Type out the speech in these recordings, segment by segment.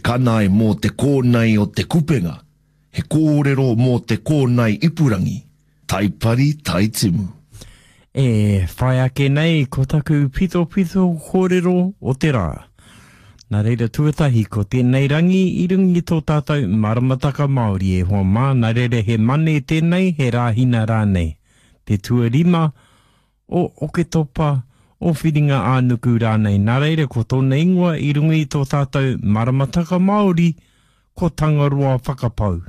kanae mō te kōnae o te kupenga, he kōrero mō te kōnae ipurangi, Taipari Taitimu. E whai ake nei ko taku pitopito kōrero o te rā. Nā reira tuatahi ko tēnei rangi i runga i tō tātou maramataka Māori e hoa mā, nā reira he Mane tēnei, he Rāhina rānei. Te tuarima o Oketopa, o Whiringa-ā-nuku rānei. Nā reira ko tōna ingoa i runga i tō tātou maramataka Māori ko Tangaroa Whakapau.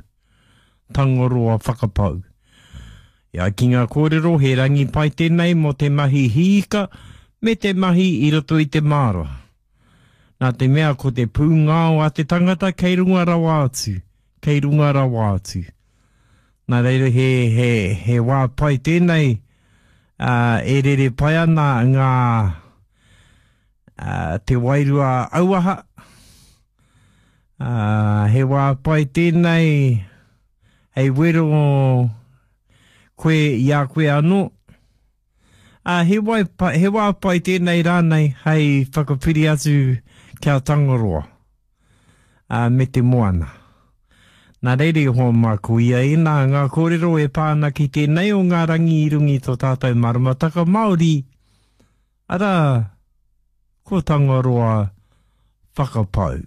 Tangaroa Whakapau. E ai ki ngā kōrero he rangi pai tēnei mō te mahi hiika me te mahi i roto i te māra. Nā te mea ko te pūngao a te tangata kei runga rawa atu, kei runga rawa atu. Nā reira he, he, he wā pai tēnei, ā, e rere pai ana ngā, ā, te wairua auaha, ā, he wā pai tēnei hei wero koe i a koe anō. Ā, he, wai, he wā pai tēnei rānei hei whakapiri atu ki a Tangaroa ā, me te moana. Nā reira i hoa mā ko ia ēnā ngā kōrero e pā ana ki tēnei o ngā rangi i runga i tō tātou maramataka Māori, arā, ko Tangaroa Whakapau.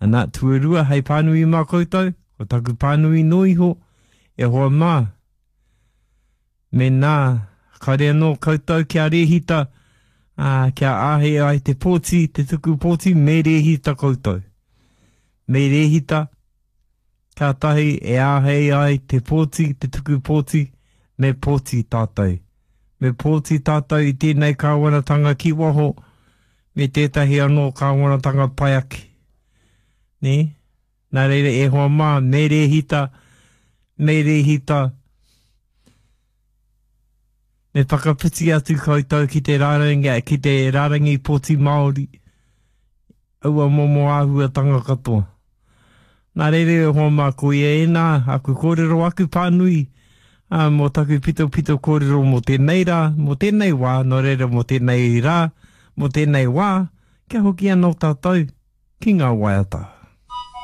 Ana, tuarua hei pānui mā koutou, ko taku pānui noa iho, e hoa mā, Mēnā, kāore anō koutou kia rēhita, ā, kia āhei ai te pōti, te tuku pōti, me rēhita koutou. Me rēhita, kātahi e āhei ai te pōti, te tuku pōti, me pōti tātou. Me pōti tātou i tēnei kāwanatanga ki waho, me tētahi anō kāwanatanga pai ake. Nē? Nā reira e hoa mā, me rēhita, me rēhita, me whakawhiti atu koutou ki te rārangi, ki te rārangi pōti Māori, aua momo āhuatanga katoa. Nā reira e hoa mā, ko ia ēnā, aku kōrero, aku pānui, ā, mō taku pitopito kōrero mō tēnei rā, mō tēnei wā, nō reira mō tēnei rā, mō tēnei wā, kia hoki anō tātou ki ngā waiata.